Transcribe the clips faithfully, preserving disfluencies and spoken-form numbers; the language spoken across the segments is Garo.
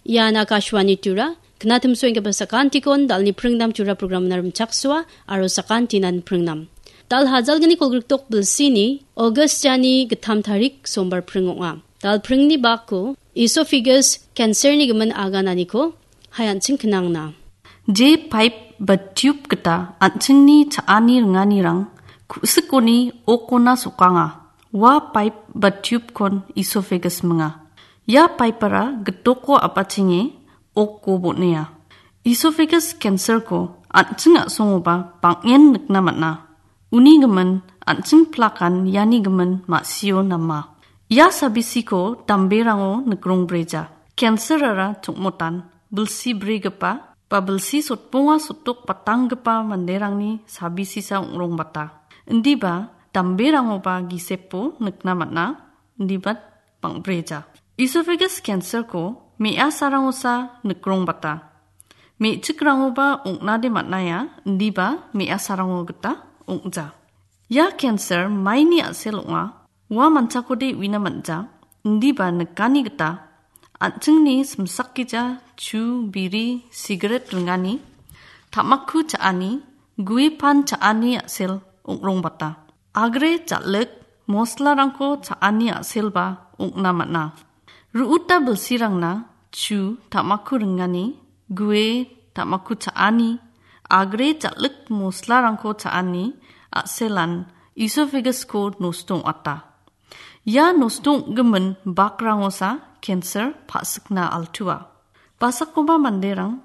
Ian Akashvani Tura, knatimsoenggipa sakantikon dalni pringnam Tura programna rimchaksoa, aro sakantinan pringnam. Dal hajalgni kolgrikdok bilsini, August jani gittam tarik sombar pring ong·a. Dal pringni bako, esophagus cancer-ni gimin agananiko, hayanching knangna. Je pipe ba tube gita an·chingni cha·ani ringanirang ku·sikoni okona sokanga. Ua pipe ba tube-kon esophagus minga. Ia pipe-ara gitoko apachenge okko bon·ea. Esophagus cancer-ko an·ching a·songoba bang·en nikna man·a. Uni gimin an·ching plakan iani gimin ma·sio nama. Ia sabisiko damberango nikrongbreja. Cancer-ara chongmotan bilsi brigipa ba bilsi sotbonga sotdok batanggipa manderangni sabisisa ong·rongbata. Indiba damberangoba gisepo nikna man·a. Indiba bang·breja. Esophagus cancer-ko me·asarangosa nikrongbata. Me·chikrangoba ong·nade man·aia, indiba me·asarango gita ong·ja. Ia cancer maini a·sel ong·a, ua manchakode uina man·ja, indiba nikani gita an·chingni simsakgija chu, biri, sigaret ringani, tamaku cha·ani, gue pan cha·ani a·sel ong·rongbata. Agre jal·ik moslarangko cha·ani a·selba ong·na man·a. Ru·uta bilsirangna chu tamaku ringani, gue tamaku cha·ani, agre jal·ik moslarangko cha·ani a·selan esophagus-ko nosto ong·ata. Ia nosto ong·gimin bakrangosa cancer pa·sikna altua. Basakoba manderang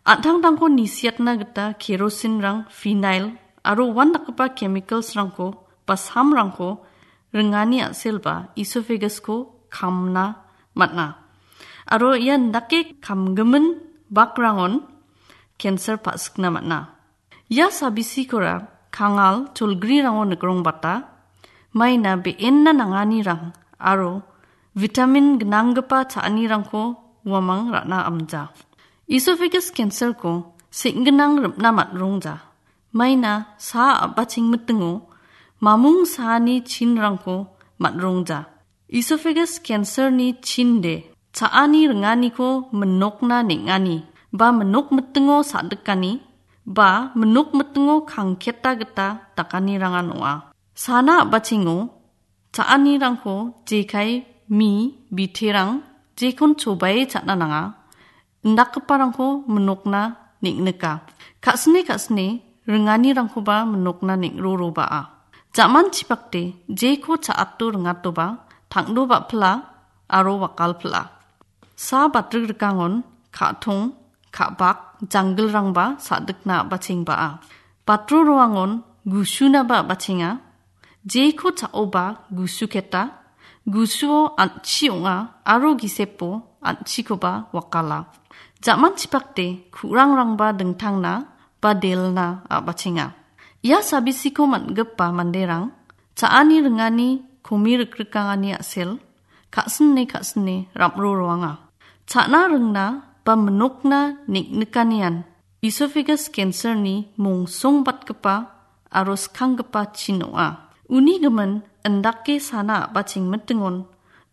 an·tangtangko nisiatna gita kerosinrang, phenyl aro uandakgipa chemicals-rangko ba samrangko ringani a·selba esophagus-ko kamna man·a. Aro ia indake kamgimin bakrangon cancer pa·sikna man·a. Ia sabisikora kangal cholgrirango nikrongbata, maina be·enna nanganirang aro vitamin gnanggipa cha·anirangko uamang ra·na amja. Esophagus cancer-ko seng·ginang rim·na man·rongja. Maina saa a·bachengmitingo mamung saani chinrangko man·rongja. Esophagus cancer-ni chinde cha·ani ringaniko minokna neng·ani ba minok mitingo sa·dikani ba minok mitingo kangketa gita dakanirangan ong·a. Sana a·bachengo cha·anirangko jekai, mi, biterang jekon chobae cha·na nanga. Indakgiparangko minokna neng·nika. Ka·sine ka·sine ringanirangkoba minokna neng·roroba·a. Jaman chipakde jeko cha·ato ringatoba tangdo ba·pila aro wakalpila. Sa batrikrikangon ka·tong, ka·bak, janggilrangba sa·dikna a·bachengba·a. Batro roangon gusunaba a·bachenga. Jeko cha·oba gusuketa, gusuo an·chi ong·a aro gisepo an·chikoba wakala. Jaman chipakde ku·rangrangba dingtangna ba delna a·bachenga. Ia sabisiko man·gipa manderang cha·ani ringani komi rikrikangani a·sel ka·sine ka·sine ram·ro roanga. Cha·na ringna ba minokna neng·nikanian esophagus cancer-ni mongsongbatgipa aro skanggipa chin ong·a. Uni gimin indake sana a·bachengmitingon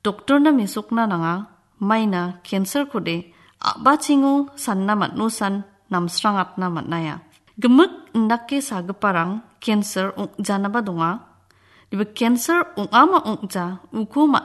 doktorna mesokna nanga, maina cancer-kode a·bachengo sanna man·osan namsrangatna man·aia. Gimik indake sagiparang cancer ong·janaba donga. Iba cancer ong·ama ong·ja uko ma-